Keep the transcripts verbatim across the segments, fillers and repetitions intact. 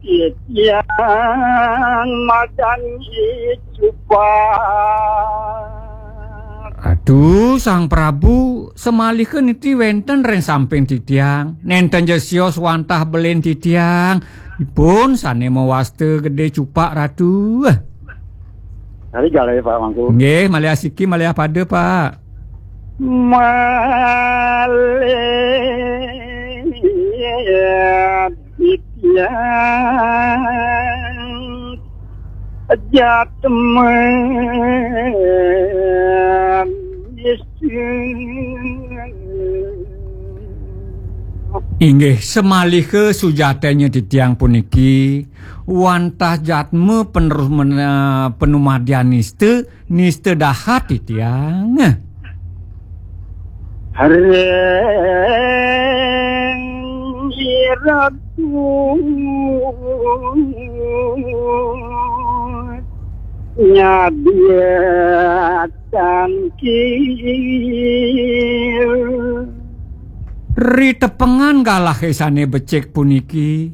Titiang madan cupak. Aduh, Sang Prabu, samalika niti wénten ring samping titiang. Nénten ja sios wantah belin titiang. Ipun sané mawasta gedé cupak, Ratu. Hari galih, Pak Mangku. Nggih, malih asiki, malih apada, Pak. Malih titiang jatmen. Inggih, samalika sujatenya titiang puniki, wantah jatma penerus men-, eh, panumadian nista, nista dahat titiang. Ring iratu nyadia tangkil. Ritepengan galahé sané becik puniki,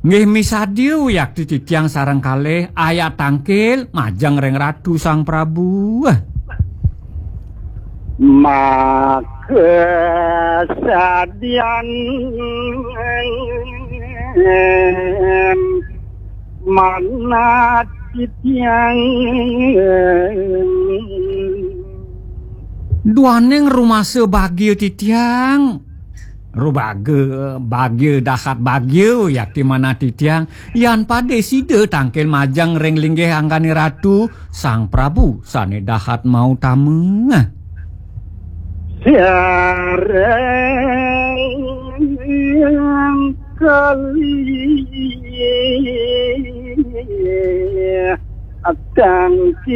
nggih misadia wiakti titiang sareng kalih ayat tangkil majeng ring Ratu Sang Prabu. Maka sadian manat titiang. Duaning rumasa bagia titiang. Rubaga, bagia, dahat bagia, yakti manah titiang. Yan pada sida tangkil majeng ring linggih anggané Ratu, Sang Prabu sané dahat mautama. Sareng kalih tangkil.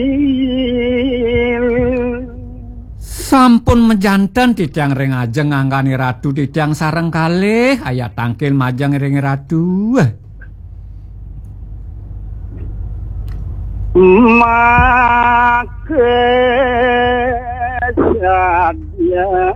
Sampun majanten titiang ring ajeng anggané Ratu, titiang sareng kalih ayat tangkil majeng ring Ratu. Maka sadya